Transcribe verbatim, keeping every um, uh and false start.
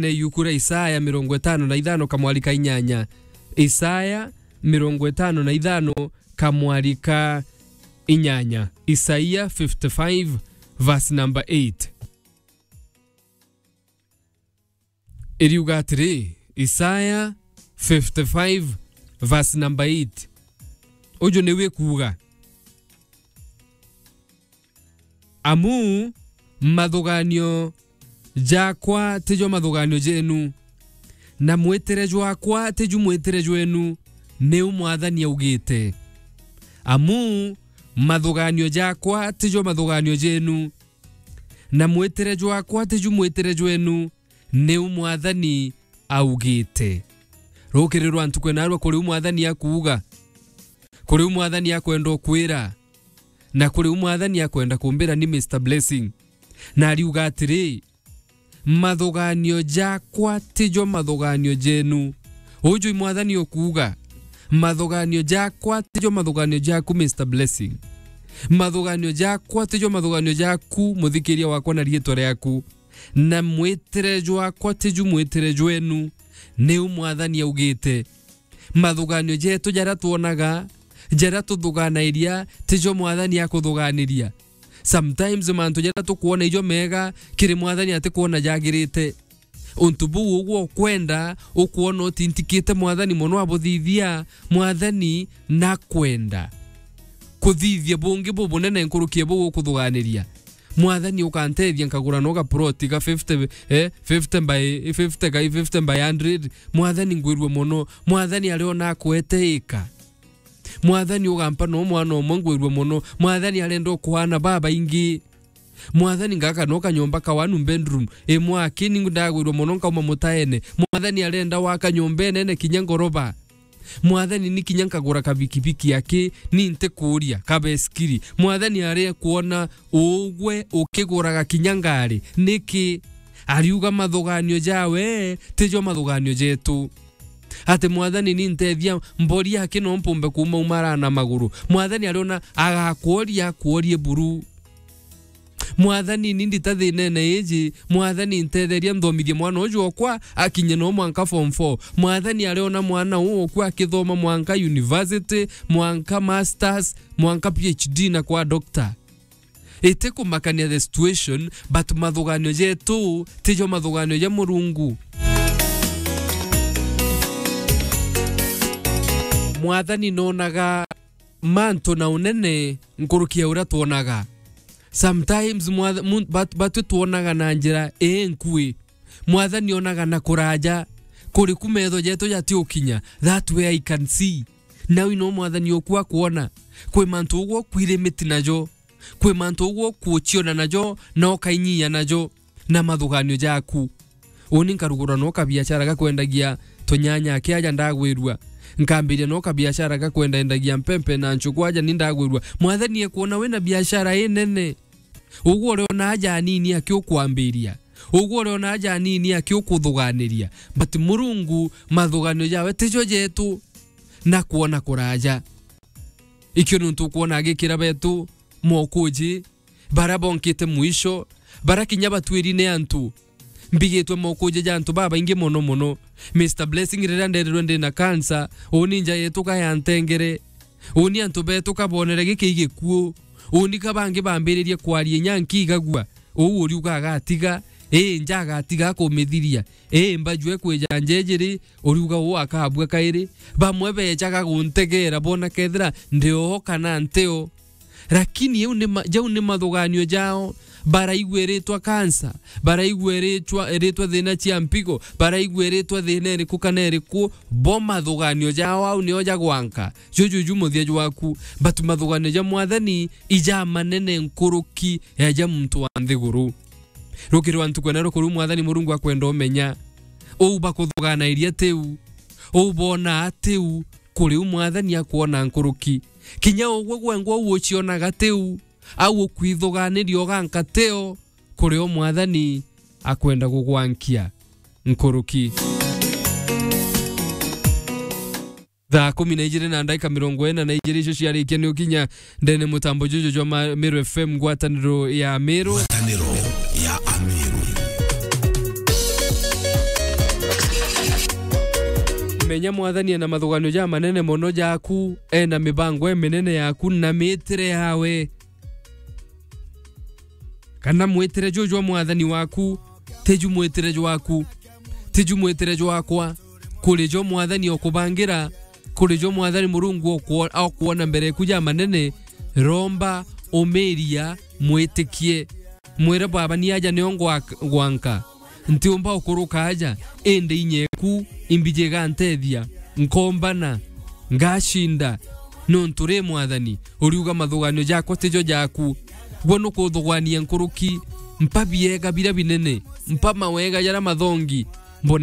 ne yuku ria Isaya mirongo itano na ithano kamwari ka inyanya. Isaya mirongo itano na ithano kamwari ka inyanya. Isaia fifty-five verse number eight. Iriuga atiri, Isaya fifty-five verse number eight. Uju niwe kuuga, "Amu mathuganio jakwa tijo mathuganio jenu, na mwitire jwakwa tiju mwitire jwenu, niu Mwathani augite. Amu mathuganio jakwa tijo mathuganio jenu, na mwitire jwakwa tiju mwitire jwenu, niu Mwathani augite." Rukiri rwa ntuku ena rwa kuriu Mwathani akuuga, kuriu Mwathani akwenda ukwira, na kuriu Mwathani akwenda kumbira ni Mister Blessing. Na ariuga atiri, "Mathuganio jakwa tijo mathuganio jenu." Uju i Mwathani ukuuga, "Mathuganio jakwa tijo mathuganio jaku, Mister Blessing. Mathuganio jakwa tijo mathuganio jaku, muthikiria wakwa na riitwa riaku. Na mwitire jwakwa tiju mwitire jwenu, niu Mwathani augite." Mathuganio jetu jaria twonaga, jaria tuthuganairia, tijo Mwathani akuthuganiria. Sometimes mantu jaria tukwona ijo mega, kiri Mwathani atikwona jagirite. Untu buu ugwe ukwenda, ukwona utintikite Mwathani mono abuthithia, Mwathani nakwenda kuthithia bungi bubunene nkuruki ya buu ukuthuganiria. "Mwathani, ukantethia nkagura no ga plot ga fifty, eh, fifty by fifty, kai fifty by hundred. Mwathani, ngwirue mono." Mwathani ariona akwete ika. "Mwathani, ugampa no mwana umwe, ngwirue mono." Mwathani arenda ukwana babaingi. "Mwathani, ngaka no kanyomba ka one bedroom imwe aki, ni ndagwirua mono nkauma mutaene." Mwathani arenda waka nyomba inene kinya ngoroba. "Mwathani, ni kinya nkagura kabikibiki aki, ni ntikuria kabesikiri." Mwathani aria kuona ugwe ukiguraga kinya ngari. Niki? Ariuga mathuganio jawe tijo mathuganio jetu. Ati, "Mwathani, ni ntethia mbori aki no mpumbe kuuma umara na maguru." Mwathani ariona agakworia, akworie buru. "Mwathani, ni ndita thinene iji. Mwathani, ntetheria nthomithie mwana uju okwa akinye no mwanka form four." Mwathani ariona mwana uu okwa akithoma mwanka university, mwanka masters, mwanka P H D na kwa doctor. Iti kumakania the situation, but mathuganio jetu tijo mathuganio ja Murungu. Mwathani nonaga mantu na unene nkuruki ya uria twonaga. Sometimes mwatha-, mu-, bat-, batwi twonaga na njira inkui. Mwathani onaga na kuraja, kuriku metho jetu jatiukinya. That way I can see. Nawe no Mwathani oku akwona. Kwi mantu ugwe ukwirimiti najo. Kwi mantu ugwe ukuciona najo, na ukainyia najo, na mathuganio jaku. Uni nkarugura no kabiashara ga kwendagia tunyanya aki aja ndagwirua. Nkambiria no kabiashara ga kwendaendagia mpempe na nchuku aja ni ndagwirua. Mwathani ekwona wina biashara inene. Ugwe uriona aja anini aki ukwambiria. Ugwe uriona aja anini aki ukuthuganiria. But Murungu, mathuganio jawe tijo jetu, na kwona kuraja. Ikio nuntu ukwona agikira betu mokuji, bara bonkite mwisho, bara kinya batwiri ni antu. Mbigitwe mokuji ja antu babaingi mono mono. Mister Blessing, riria nderirwe ndina cancer, uni nja yetuka ya ntengere. Uni antu betuka bonere giki gikuu. Uni ka bangi bambiririe kwaria inya nkigagua. Uu uriuga agatiga, ii, nja agatiga akumithiria. Ii, mbajue kwija njejiri, uriuga uu akabua kairi. Bamwe bejaga guntegera bona kethira ndi oo kana nti oo. Lakini iu ni ma-, jau ni mathuganio jao. Baraigua iritwa kansa, baraigua iritwa, iritwa thina cia mpigo, baraigua iritwa thina iriku kana iriku, bo mathuganio jao au nio jagwanka. Juju ju muthia jwaku. But mathuganio ja Mwathani ija manene nkuruki ya ja muntu wa nthiguru. Rukiri wa ntuku ena rukuru Mwathani Murungu akwenda umenya. Uu bakuthuganairia tiu. Uu bonaa tiu. Kuri u Mwathani akwona nkuruki. Kinya ugwe gwengwa uu ucionaga tiu. Au ukwithuganiria uganka tio. Kuri u Mwathani akwenda gugwankia nkuruki. Thaa kumi na ijiri na ndagika mirongo ina na ijiri icio ciarikia ni ukinya ndene mutambo juju jwa ma-, Meru F M, ngwataniro ya Meru. Ngwataniro ya Ameru. Menya Mwathani ena mathuganio jamanene mono jaku, ena mibango iminene yaku na miitire yawe. Kana mwitire juu jwa Mwathani waku, tiju mwitire jwaku, tiju mwitire jwakwa. Kuri jo Mwathani okubangira, kuri jo Mwathani Murungu okwo-, okwona mbere eku jamanene, romba, umiria, mwitikie. Mwire, "Baba, ni aja nio ngwa-, ngwanka. Ntiumba ukuruka aja, indi inya eku imbiji igantethia. Nkombana, ngacinda, nontu ri Mwathani, uriuga mathuganio jakwa tijo jaku. Gwe nukuthugania nkuruki, mpa biega biria binene, mpa mawega jaria mathongi,